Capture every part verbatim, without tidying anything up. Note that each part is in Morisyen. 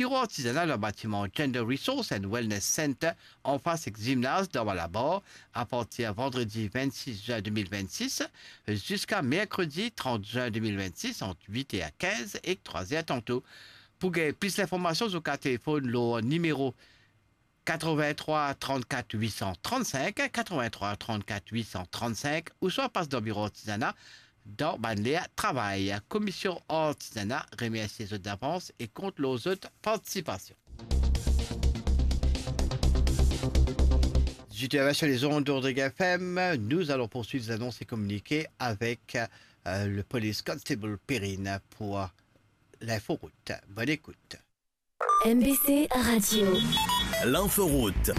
Biro Artizana dan batiman Gender Resource and Wellness Center, anfas ek zimnaz dan Malabar, apartir vandredi vennsis zin de mil vennsis ziska merkredi trant zin de mil vennsis, ant wit er kinz ek trwa er tanto. Pou gagn plis linformasion, zot kapav telefonn lor nimero katrevin-trwa trannkat wit san trannsink, katrevin-trwa trannkat wit san trannsink, ouswa pas dan Biro Artizana dan bann ler travay. Komisyon Artizana remersie zot davans e kont lor zot partisipasion. Dizwit er vin sur les ondes d'Odriguez F M, nous allons poursuivre les annonces et communiqués avec, euh, le police constable Perrine pour l'inforoute. Bonne écoute. M B C Radio. L'inforoute.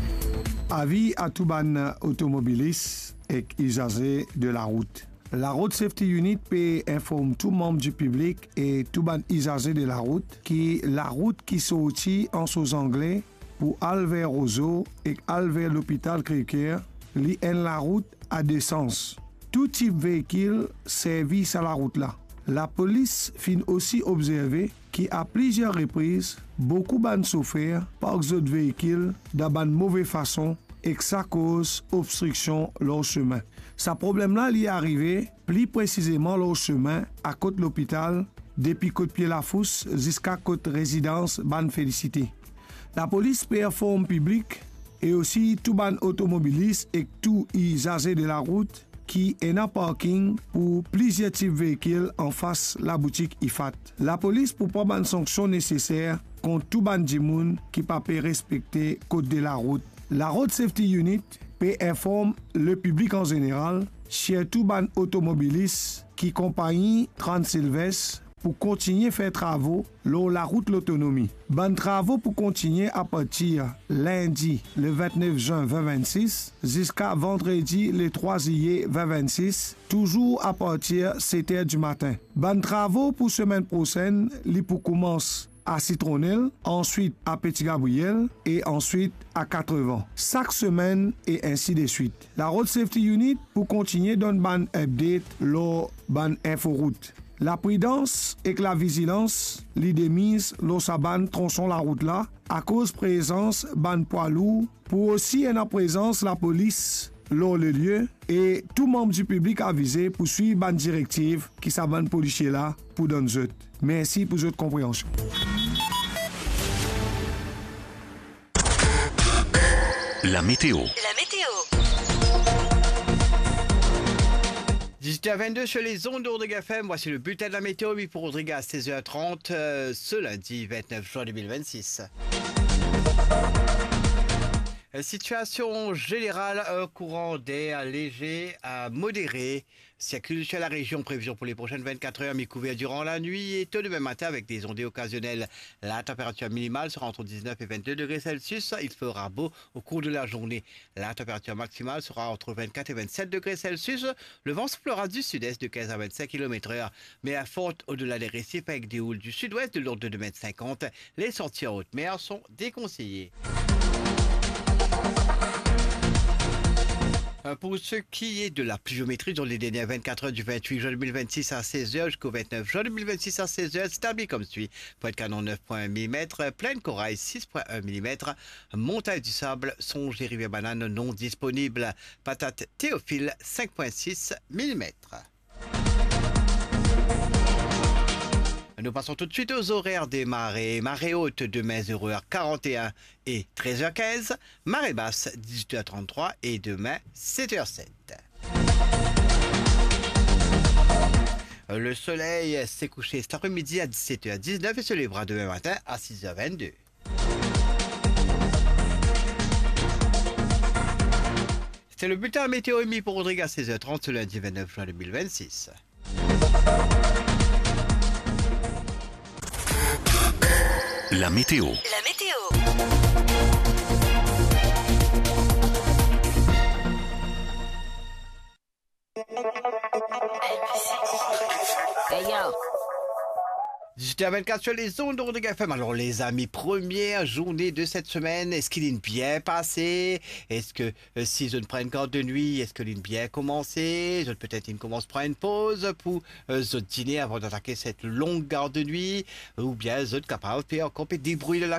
Avi a tou bann otomobilis ek izaze de larout. La Road Safety Unit pe inform tou manm di piblik e tou bann izaze de larout ki larout ki sorti Anse aux Anglais pou al ver Rozo ek al ver lopital Crèvecoeur, li enn larout a de sans. Tou tip veikil servi sa larout la. Lapolis finn osi obzerve ki a plizier repriz, boukou bann sofer park zot veikil dan bann move fason ek sa koz obstriksion lor semin. Sa problem la li arive pli presizeman lor semin a kot lopital, depi kot pie lafous ziska kot rezidans bann Felisite. Lapolis pe inform piblik e osi tou bann otomobilis ek tou izaze de larout ki ena parking pou plizier tip veikil anfas laboutik Ifat. Lapolis pou pran bann sanksion neseser kont tou bann dimoun ki pa pe respekte kod de larout. La Road Safety Unit pe inform lepiblik an zeneral, sirtou bann otomobilis ki konpagni Transilvès pou kontigne fer travo lor larout Lotonomi. Bann travo pou kontigne apartir lindi le vintnef zin vin vennsis ziska vandredi le trwa ziye vin vennsis, touzour apartir set er dimatin. Bann travo pou semenn prosenn, li pou koumans a Sitronel, answit a Peti Gabriel e answit a Katrevan. Sak semenn e ensi de swit. La Road Safety Unit pou kontigne donn bann update lor bann inforout. Lapridans ek lavizilans li demiz lor sa bann tronson larout la, akoz prezans bann pwa lour, pou osi ena prezans lapolis lor lelie, e tou manm di piblik avize pou swiv bann direktiv ki sa bann polisie la pou donn zot. Mersi pou zot konpreansion. La météo. La météo. Dix-huit heures vingt-deux sur les ondes d'Odriguez F M, voici le bulletin de la météo mis pour Rodrigue à seize heures trente, euh, ce lundi vingt-neuf juin deux mille vingt-six. Situation générale, un courant d'air léger à modéré circule sur la région. Prévision pour les prochaines vingt-quatre heures, mi-couvert durant la nuit et tôt demain matin avec des ondées occasionnelles. La température minimale sera entre dix-neuf et vingt-deux degrés Celsius. Il fera beau au cours de la journée. La température maximale sera entre vingt-quatre et vingt-sept degrés Celsius. Le vent soufflera du sud-est de quinze à vingt-cinq kilomètres heure, mais à forte au-delà des récifs avec des houles du sud-ouest de l'ordre de deux mètres cinquante. Les sorties en haute mer sont déconseillées. Euh, pour ce qui est de la pluviométrie, dans les dernières vingt-quatre heures, du vingt-huit juin deux mille vingt-six à seize heures jusqu'au vingt-neuf juin deux mille vingt-six à seize heures, c'est établi comme suit. Pointe-Canon, neuf point un millimètres, Plaine Corail, six point un millimètres, Montagne du Sable, Songe et Rivière Banane non disponibles. Patate Théophile, cinq point six millimètres. Nous passons tout de suite aux horaires des marées. Marée haute demain, zéro heure quarante et un et treize heures quinze. Marée basse, dix-huit heures trente-trois et demain, sept heures sept. Le soleil s'est couché cet après-midi à dix-sept heures dix-neuf et se lèvera demain matin à six heures vingt-deux. C'était le bulletin météo émis pour Rodrigue à seize heures trente ce lundi vingt-neuf juin deux mille vingt-six. La météo. La météo. Hey, yo. Dix-huit heures vingt-quatre sur les ondes de Rodrigue F M. Alors, les amis, première journée de cette semaine, eski linn bien pase? Eski, euh, si zot pran enn gard de nwi, eski linn bien koumanse? Zot petet inn koumans pran enn poz pou, euh, zot dine avan datake set long gard de nwi, oubien zot kapav pe ankor pe debrouy la